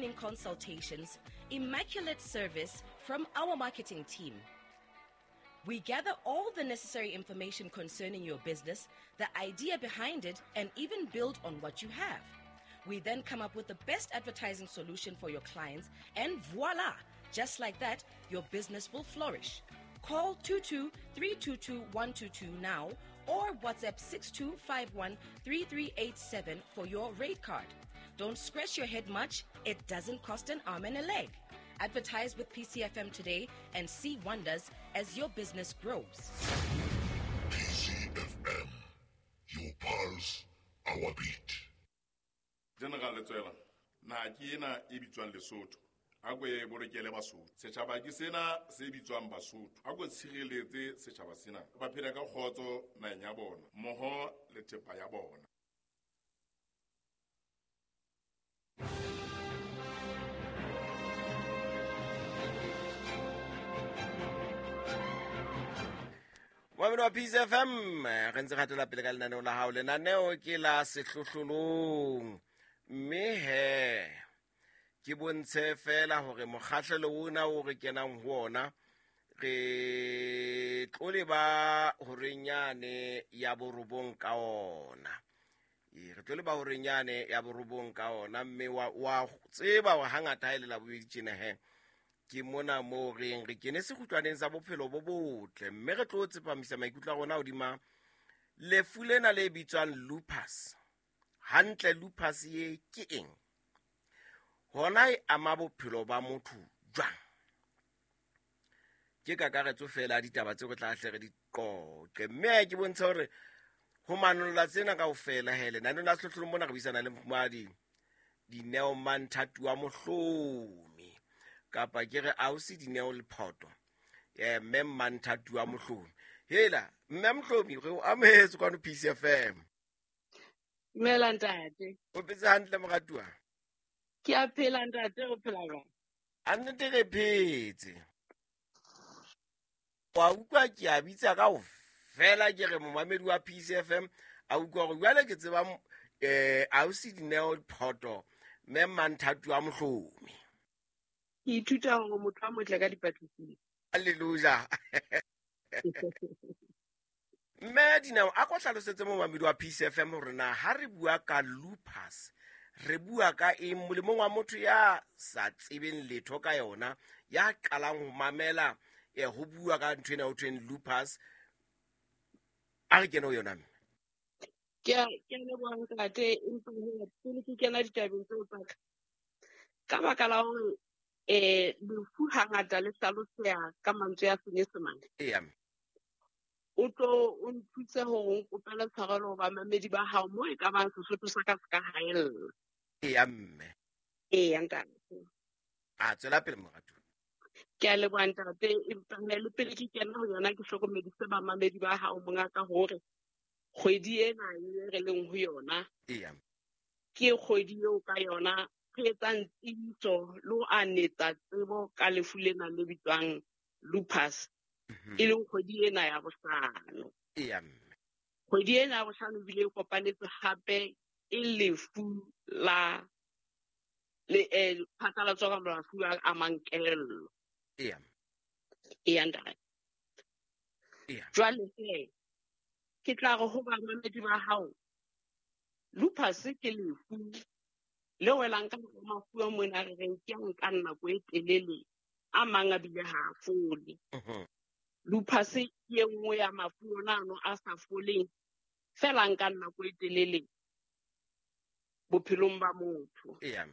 entertaining consultations, immaculate service from our marketing team. We gather all the necessary information concerning your business, the idea behind it, and even build on what you have. We then come up with the best advertising solution for your clients, and voila! Just like that, your business will flourish. Call 22 322 122 now or WhatsApp 6251 3387 for your rate card. Don't scratch your head much, it doesn't cost an arm and a leg. Advertise with PCFM today and see wonders as your business grows. PCFM, your pulse, our beat. General Letsoela, naha ke ena e bitswang Lesotho. A ko e bolokele Basotho. Setjhaba ke sena se bitswang Basotho. A ko tshireletse setjhaba sena. Ba phele ka kgotso naheng ya bona, mmoho le thepa ya bona. Momamedi wa Peace FM, re ntse re hatela pele ka lenaneo la hao. Lenaneo ke la sehlohlolong. Mme he, ke bontshe fela hore mokgahlelo ona o re kenang ho ona, re tlo leba horeng yane ya borobong ka ona. Ee, re tlo leba horeng yane ya borobong ka ona, mme wa tseba hore hangata ha e le Labobedi tjena he, ke mona moo re reng re kene sekgutlwaneng sa bophelo bo botle, mme re tlo tsepamisa maikutlo a rona hodima lefu lena le bitswang lupus. Hantle lupus ye ke eng? Hona e ama bophelo ba motho jwang? Ke kakaretso fela ya ditaba tseo re tla hle re di qoqe. Mme ke bontshe hore ho manolla tsena kaofela he, lenaneo la sehlohlolong mona re buisana le mofumahadi Dineo Manthatu wa Mohlomi, kapa ke re ausi Dineo Lephoto, mme Manthatu wa Mohlomi. Hela, mme Mohlomi, re o amohetse kwano PCFM. Dumela ntate. O phetse hantle moratuwa? Ke a phela ntate, o phela jwang? A nnete re phetse. Wa utlwa ke a bitsa kaofela ke re momamedi wa PCFM a utlwa hore jwale ke tseba ausi Dineo Lephoto, mme Manthatu wa Mohlomi. Ke ithuta hore motho a motle ka dipatlisiso. Hallelujah. Mme Dineo, a ko hlalosetse momamedi wa PCFM hore na ha re bua ka lupus, re bua ka eng molemong wa motho ya sa tsebeng letho ka yona, ya qalang ho mamela, ho bua ka ntho ena ho thweng lupus. A re kene ho yona mme. Ke a leboha ntate, empa he, pele ke kena ditabeng tseo tsa ka, ka baka la hore, lefu hangata le hlaloseha ka mantswe a Senyesemane. Eya. O tlo o nthuse hore o nkopele tshwarelo ho bamamedi ba hao moo e ka bang Sesotho sa ka se ka haella. Eya, mme. Eya, ntate. A tswela pele moratuwa. Ke a leboha ntate, empa he, le pele ke kena ho yona ke hlokomedise bamamedi ba hao mongaka hore kgwedi ena e re leng ho yona, Eya. ke kgwedi eo ka yona re etsang tsebiso le ho anetsa tsebo ka lefu lena le bitswang lupus, e leng kgwedi ena ya bohlano. Eya, mme. Kgwedi ena ya bohlano ebile e kopanetse hape e lefu la le phatlalatso ka mafu a amang kelello. Eya. Eya, ntate. Eya. Jwale he, ke tla re ho bamamedi ba hao, lupus ke lefu le welang ka hara mafu a mona re reng ke a nkang nako e telele, a mang a bile ha a fole. Lupus ke e nngwe ya mafu ona ano a sa foleng, fela a nkang nako e telele bophelong ba motho. Eya.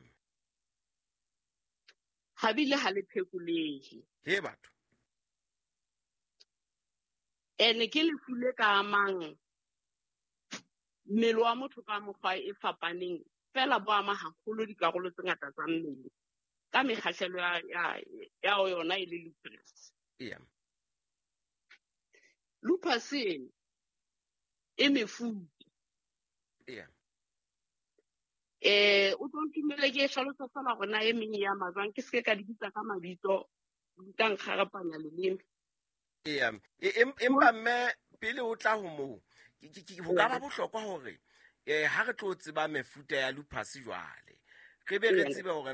Ha bile ha le phekolehe. He batho. Ene ke lefu le ka amang mmele wa motho ka mokgwa e fapaneng, fela bo ama haholo dikarolo tse ngata tsa mmele ka mekgahlelo ya yona e le lupus. Eya. Lupus ena e mefuta. Eya. O tlo ntumelle ke e hlalosa fela hore na e meng e ama jwang, ke se ke ka di bitsa ka mabitso, di tla nkgarapanya leleme. Eya. Empa mme pele o tla ho moo, ho ka ba bohlokwa hore, ha re tlo tseba mefuta ya lupus jwale, re be re tsebe hore na